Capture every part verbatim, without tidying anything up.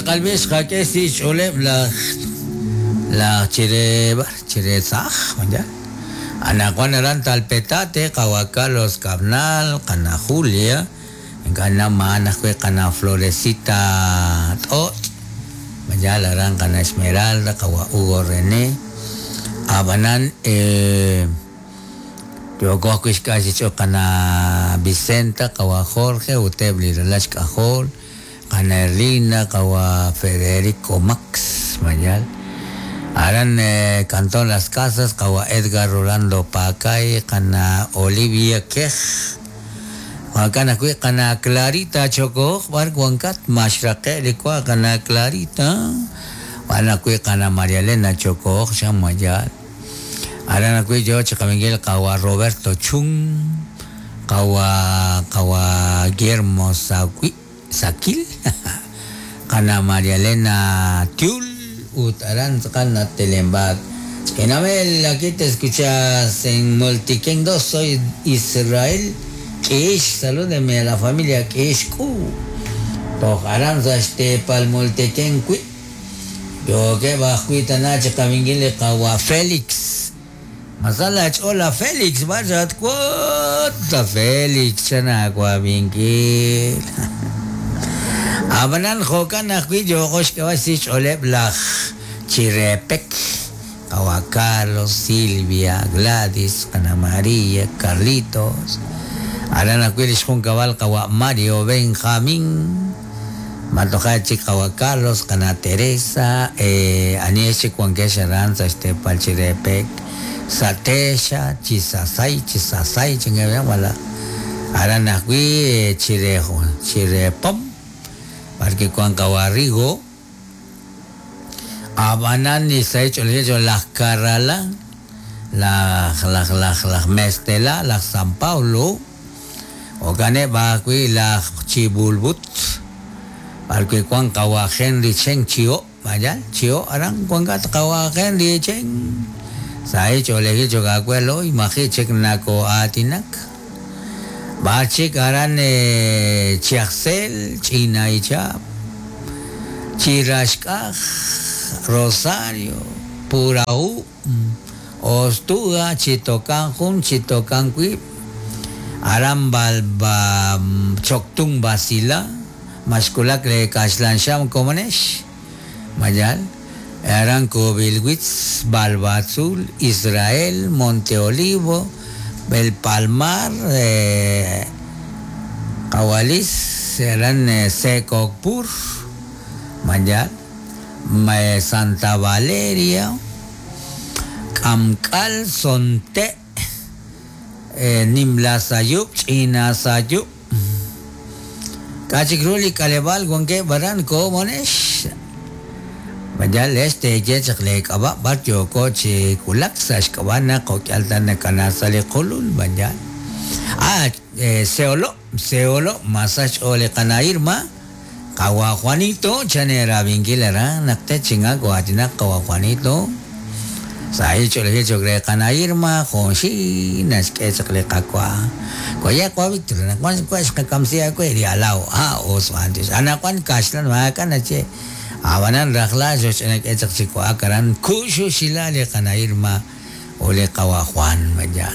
tz'aqal xqak'e si xch'ooleb' laj laj chire chire tzaj maya anaqwan aran Talpetate qawa Carlos Cabnal qana Julia ink'a' ma'an ajwi' qana Florecita T'ot maya aran qana Esmeralda qawa Hugo René ab'anan eh yooko ajwi' xk'al xch'ool qana Vicenta qawa Jorge uteb' li ralal xk'ajol qana Erlinda qawa Federico Max mayal aran eh, Cantón Las Casas qawa Edgar Rolando Pacay qana Olivia Kej jo'kan ajwi' qana Clarita Chokoj b'ar wankat maxraqe' li wa qana Clarita wan ajwi' qana María Elena Chokoj xan mayal aran ajwi' yo chiqawinkil qawa Roberto Chung qawa qawa Guillermo Sawi Sakil qana María Elena Tiul ut aran tz'aqal natelembat Ch'inamel, aquí te escuchas en Multiken dos, soy Israel Kish, salúdeme a la familia Kish Ku. Toj aran sa xteepal Multiken Kui. Yo ke bajwi tana chiqawinkil qawa Félix. Masala ch'ola Félix, vaya cuota Félix, chana wawinkil. Ab'anan jo'kan ajwi' yooko xk'eb'al si xch'ooleb' laj Chirepek, qawa Carlos, Silvia, Gladys, Ana María, Carlitos. Aran ajwi' li xjunkab'al qawa Mario Benjamín. Matoja chik qawa Carlos, qana Teresa, eh, aniex chik wankex aran sa xteepal Chirepek, Satexa, Chisasay, Chisasay, chingabian wala. Aran ajwi' Chire Chirepom, parque Juan Cabarrigo, Abanan y se ha hecho las Carrala, las las las las Mestela, las San Paulo, Okane Bakui, las Chibulbut, parque Juan Kawa Henry Chen Chio, vaya, Chio, aran Juan Kawa Henry Chen. Se ha hecho le he dicho que acuerdo, imagínate chek nako atinak. Bachik aran eh, Chiaxel, China y Chap, Chirashkaj, Rosario, Puraú, Ostuga, Chitocanjun, Chitocancuip, Aran Balba, Choctún Basila, Mashkulak le Kashlansham Komonesh, Mayal, Aran Kobilwitz, Balbazul, Israel, Monte Olivo, El Palmar, eh, Kawalis, eran eh, Secocpur, Mayal, Santa Valeria, Kamkal, Sonte, eh, Nimlasayup, Chinasayup, Kachikruli, Kalebal, Guanque, Baran, Komonesh, Mayal, este, Yechak, Kaba, Bartio, Coche, Kulak, Sashkabana, Kokyaltana, Kanasale, Kolul, Mayal. Ah, eh, Seolo, Seolo, Masach, Ole, Kanairma, Kawa Juanito, Chanera, Vinguilera, Nakte, Chinga, Guatina, Kawa Juanito, Sahicho, Lehicho, Kanairma, Jonshi, Nashkechak, Kakwa, Koyakwa, Victor, Nakwan, Quashka, Kamsia, Queria, Lao, Ah, Oswantis, Anakuan, Kashlan, Makanache. Abanan rajla xoch'anak echaq chiku'akaran kuxu xila li qana'irma o li qawa Juan maya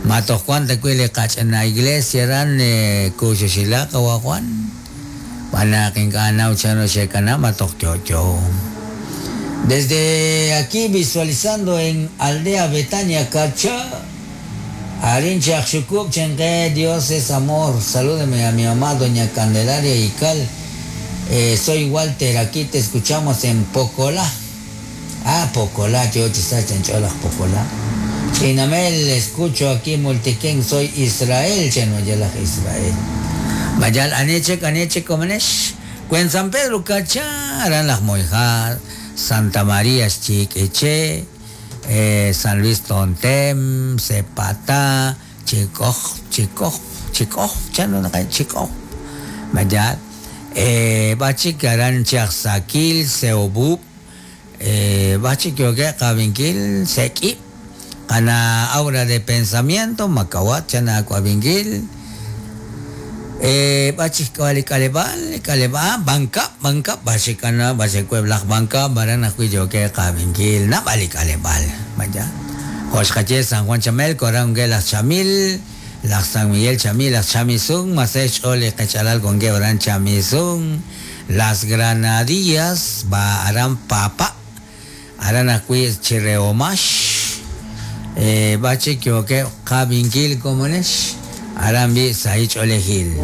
matoq Juan takui li qach'ana iglesia ran kuxu xila qawa Juan panaqin k'anaw chano xekana matoq chocho. Desde aquí visualizando en Aldea Betania Cacha Arin Chakxukup Chenque, Dios es amor. Salúdeme a mi mamá doña Candelaria Ical. Eh, soy Walter, aquí te escuchamos en Pocolá. Ah, Pocolá, yo chancholas Pocolá. Chinamel, escucho aquí Multiquén, soy Israel, Chenoyela Israel. Mayal, Aneche, Aneche, Comenesh. Cuen San Pedro, Cachá, Aran las Moijas, Santa María, Chiqueche, eh, San Luis Tontem, Cepatá, Chicoj, Chicoj, Chicoj, Chano, Chicoj. Mayal. Eh, bachik aran Chachsakil, Seobub, eh, bachik yoke Kavinkil, Seki, Ana aura de pensamiento, Macawat, Chana Kavinkil, Eh, b'achik k'aleb'aal, k'aleb'aal, Bancap, Bancap, b'achikana, b'achikueb' laj Bancap, aran ajwi' yookeb' qab'inkil, naab'al li k'aleb'aal, vaya. Jo'xqaye San Juan Chamelco, aran wankeb' laj Chamil, laj San Miguel Chamil, laj Chamisun, masej xch'ool li qechalal wankeb' aran Chamisun, Las Granadillas, ba aran Papa, aran ajwi' Chireomax, eh, b'achik yookeb' qab'inkil komonex, aran bi' sahil ch'oolejil.